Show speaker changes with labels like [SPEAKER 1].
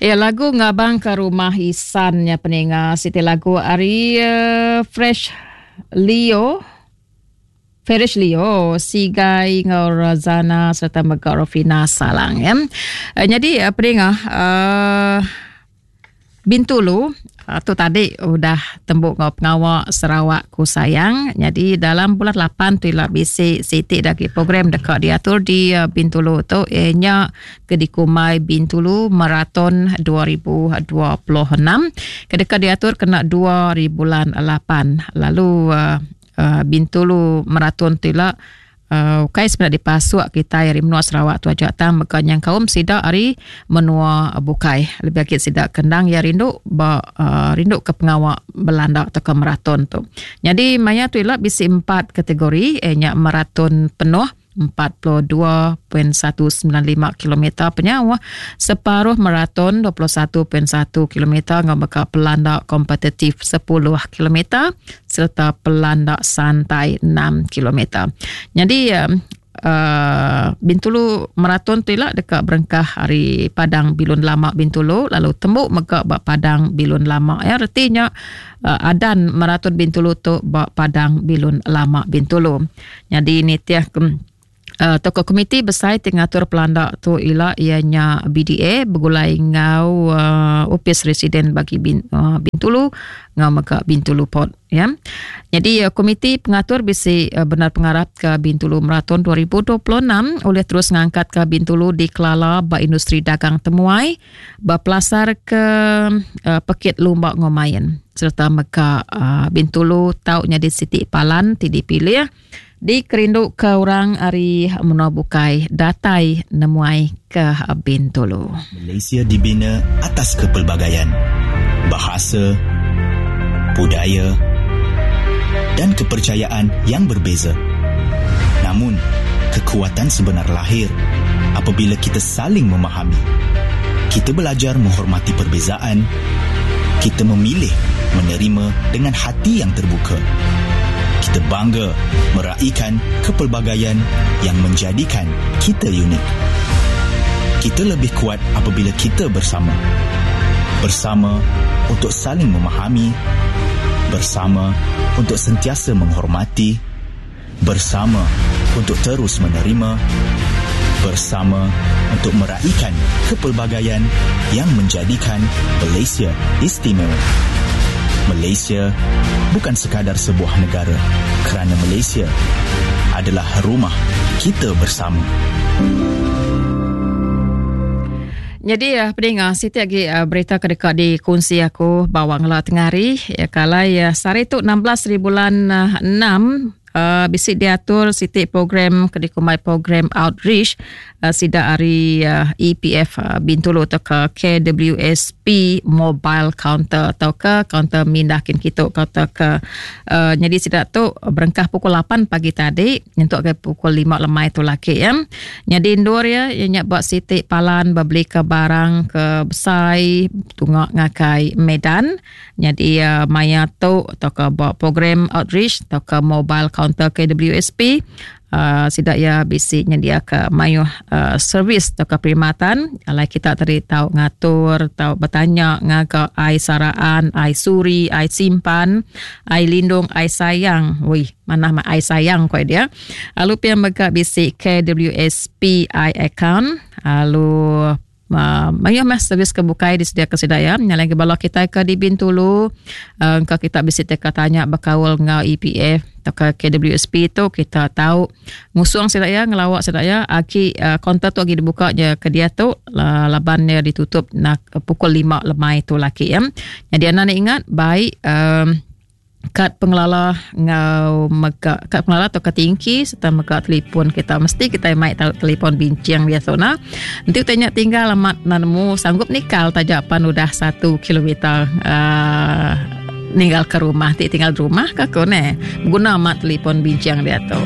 [SPEAKER 1] Ya lagu ngabang ke rumah isan nya peninga siti lagu ari uh, Fresh Leo Farish Leo, Sigai enggau Razana sereta mega Rofina Salang ya. Eh, nyadi eh, peninga uh, Bintulu uh, tu tadi udah tembu enggau pengawa Sarawak Ku Sayang. Nyadi dalam bulan 8 tu ila bisi siti lagi program deka diatur di uh, Bintulu tu ianya ke dikumbai Bintulu Marathon 2026 ke deka diatur kena 2 hari bulan 8. Lalu uh, uh, Bintulu Marathon tu ila uh, ukai semina dipasuk kitai ari menua Sarawak tu aja tang mega nyengkaum sida ari menua bukai lebih agi sida ke endang iya rindu ba uh, rindu ke pengawa belanda tauka marathon tu. Nyadi maya tu ila bisi empat kategori iya nya marathon penuh 42.195 kilometer penyauh, separuh maraton 21.1 kilometer enggau mega pelanda kompetitif 10 kilometer sereta pelanda santai 6 kilometer. Nyadi uh, Bintulu Marathon tu ila deka berengkah ari Padang Bilun Lama Bintulu lalu tembu mega ba Padang Bilun Lama. Ya reti nya uh, adan Marathon Bintulu tu ba Padang Bilun Lama Bintulu. Nyadi nitih ke uh, tokoh komiti besai ti ngatur pelanda tu ila iya nya BDA begulai enggau uh, Opis Residen bagi Bin, uh, Bintulu enggau mega Bintulu Port ya. Nyadi uh, komiti pengatur bisi uh, benar pengarap ke Bintulu Marathon 2026 ulih terus ngangkat ke Bintulu dikelala ba industri dagang temuai bepelasar ke uh, pekit lumba enggau main sereta mega uh, Bintulu tau nyadi siti palan ti dipilih dikerindu ke orang ari menua bukai datai nemuai ke Bintulu.
[SPEAKER 2] Malaysia dibina atas kepelbagaian bahasa, budaya dan kepercayaan yang berbeza. Namun, kekuatan sebenar lahir apabila kita saling memahami. Kita belajar menghormati perbezaan, kita memilih menerima dengan hati yang terbuka. Kita bangga meraikan kepelbagaian yang menjadikan kita unik. Kita lebih kuat apabila kita bersama. Bersama untuk saling memahami, bersama untuk sentiasa menghormati, bersama untuk terus menerima, bersama untuk meraikan kepelbagaian yang menjadikan Malaysia istimewa. Malaysia bukan sekadar sebuah negara kerana Malaysia adalah rumah kita bersama.
[SPEAKER 1] Nyadi uh, pedinga siti agi uh, berita ke deka dikunsi aku bawa ngela tengah hari ya kalai uh, sehari tu 16 hari bulan uh, 6 uh, bisi diatur siti program ke dikumbai program outreach uh, sida ari uh, EPF uh, Bintulu atau ke KWSP mobile counter atau ke counter mindah kin kitu atau ke uh, nyadi sida tu berengkah pukul 8 pagi tadi nyentuk ke pukul 5 lemai tu laki ya. Nyadi endur ya iya nya ba siti palan bebeli ke barang ke besai tunga ngagai Medan. Nyadi uh, maya tu tauka ba program outreach tauka mobile counter KWSP uh, sida iya bisi nyediaka mayuh uh, servis tauka perkhidmatan alai kita tadi tau ngatur tau betanya ngaga ai saraan, ai suri, ai simpan, ai lindung, ai sayang. Wih, manah mah ai sayang ko dia. Lalu pia mega bisi KWSP i account lalu uh, mayuh meh servis ke bukai disediaka sida ya. Nyalai ke bala kitai ke di Bintulu uh, engka kita bisi teka tanya bekaul enggau EPF atau ke KWSP tu kita tahu ngusung sida ya ngelawa sida ya agi uh, kaunter tu agi dibuka je ke diatu uh, laban dia ditutup nak pukul 5 lemai tu laki ya. Jadi anda ni ingat baik um, kad pengelala enggau mega kad pengelala atau kad tingki serta mega telefon kita mesti kita mai telefon bincing biasa nah enti utai nya tinggal amat enda nemu sanggup nikal taja pan udah satu kilometer uh, ninggal ke rumah ti tinggal di rumah ka ko neh beguna amat telefon bincing diatu.